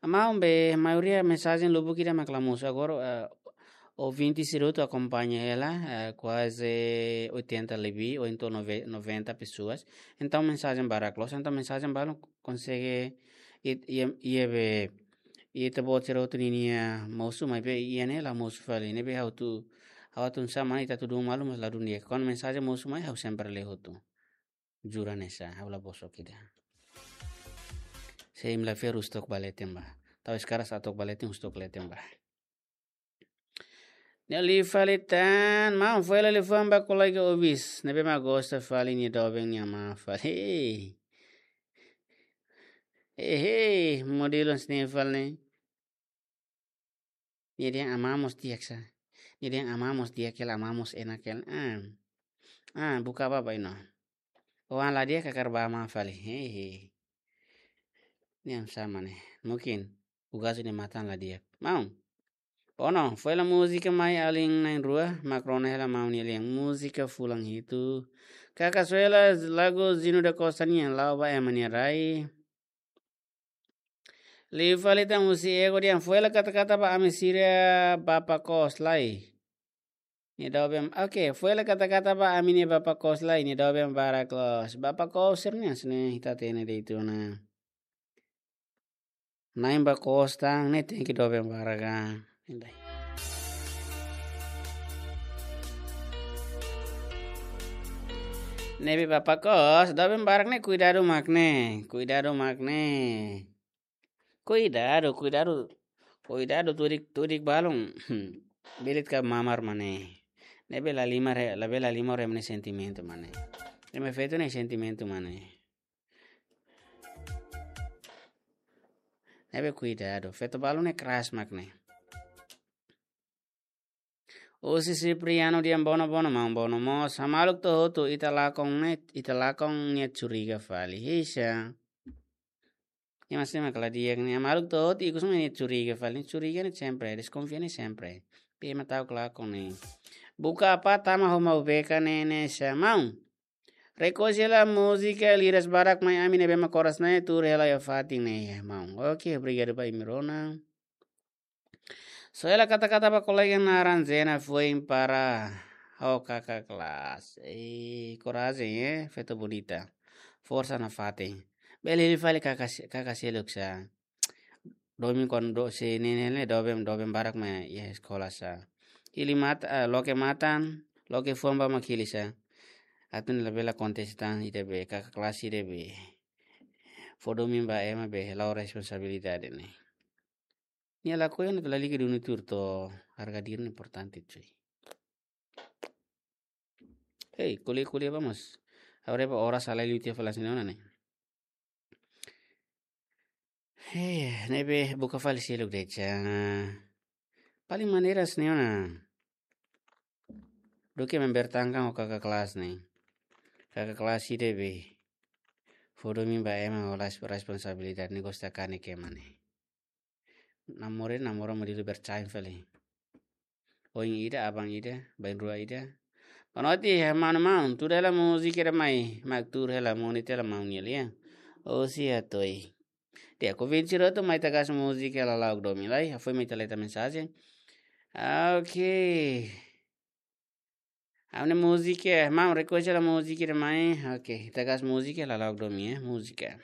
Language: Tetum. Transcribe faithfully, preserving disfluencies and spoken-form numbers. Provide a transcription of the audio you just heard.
Maun, be maioria mensajen lubuk ida mak la mosu. Agora, eh, ouvinte sira hotu akompaña hela, eh, kuaze oitenta lebih, ou entaun nove-, noventa pessoas. Entaun mensajen barak loos, entaun mensajen balun konsege it-, iha, iha be, iha ita-boot sira hotu ninia mosu, maibé iha ne'e la mosu fali. Ne'ebé ha'u atu, ha'u atu hanesan ita atu dun malu, mas la dun di'ak. Kuandu mensajen mosu mai, ha'u sempre lee hotu. Jura hanesan, ha'u la bosok ida. Se imi la fiar husik took ba leten bá. Tau eskadas atu took ba leten, husik took leten bá. Nia liu fali tan, maun, foin hela liafuan ba kolega Obis. Ne'ebé mak gosta fali nia doben nia amá fali. Hei. Hei, hei, modelu hanesan ne'e fali ne'e. Nia dehan amá mós di'ak sá. Nia dehan amá mós di'ak hela, amá mós enak hela. Ah. Ah, buka bá, bá iha ne'e. Oan la di'ak hakarak ba amá fali. Hehe. Nia hanesan mane. Mungkin. Ugasu nia matan la di'ak. Maun. Ono, foin hela múzika mai alin na'in-rua, mak rona hela maun nia lian. Múzika fulan hitu. Kaka, soe hela lagu Zino da Costa nian, La'o ba Ema nia Rai. Liu fali tan husi Ego dehan, foin hela kata-kata ba ami sira bapa kos lai. Nia doben, oke, foin hela kata-kata ba ami-nia bapa kos lai, nia doben barak loos. Bapa kos sira-ne'e hanesan ne'e ita hatene de'it ona. Na'in ba kos tan, ne'e tenke doben barak ka. Indai. Ne'ebé bapa kos, doben barak ne'e kuidadu mak ne'e, kuidadu mak ne'e. Kuidadu, kuidadu, kuidadu tudik, tudik balun. Belit ka mamar mane. Ne'ebé la limar, ne'ebé la limar ema nia sentimentu mane. Ema feto nia sentimentu mane. Ne'ebé kuidadu, feto balun ne'e keras mak ne'e. Husi Cipriano dehan bono bono maun, bono mós. Hamaluk to'o hotu, ita lakon ne'e, ita lakon nia curiga fali. Hisa. Ema sira mak la di'ak ne'e. Hamaluk to'o hotu, ikus mak nia curiga fali. Curiga ne'e sempre, deskonfia ne'e sempre. Be ema ta'uk lakon ne'e. Buka apá tama ho Maubeka ne'e, ne'e sá maun. Rekolla múzika liras barak mai ami ne'ebé mak koras ne'e tuur hela iha fatin ne'e, maun. Oke, obrigadu ba imi rona. Soe hela kata-kata ba kolega naran Zena foin para ho kakak kelas. Eh, korajen, eh, feto bonita. Forsa nafatin. Bele hili fali kakak se-, kakak seluk sá. Domin kon do se nene le doben, doben barak mai iha eskola sá. Hili mat-, ah, loke matan, loke fuan ba mak hili sá. Atu nune'e labele akontese tan ida be, kakak kelas ida be. Fó domin ba ema be, la'o responsabilidade ne'e. Nia lakohi ona atu lalika duni tuur to'o, harga diri ne'e importante cuy. Hei, ko'alia, ko'alia ba mós. Agora ba oras halai liu tiha fali hanesan ne'e ona ne'e. Hei, ne'ebé buka fali seluk de'it sá. Paling maneira hanesan ne'e ona. Duké membertangkan ho kakak kelas ne'e. Kakak kelas ida be. Fó domin ba ema ho las-, responsabilidade ne'e gosta kanek ema ne'e. Namora, namora modelu bercain fali. Oin ida, aban ida, bainrua ida. Boa noite, maun-maun. Tuur hela múzika ida mai, mak tuur hela moni tela maun nia lian. Osi atoi. Di'ak, ouvinte sira hotu mai ita gas múzika lala'ok domin lai. Foin mai ita leta mensajen. Ok. Ami-nia múzika, maun, rekolla múzika ida mai. Ok, ita gas múzika lala'ok domin, eh, múzika.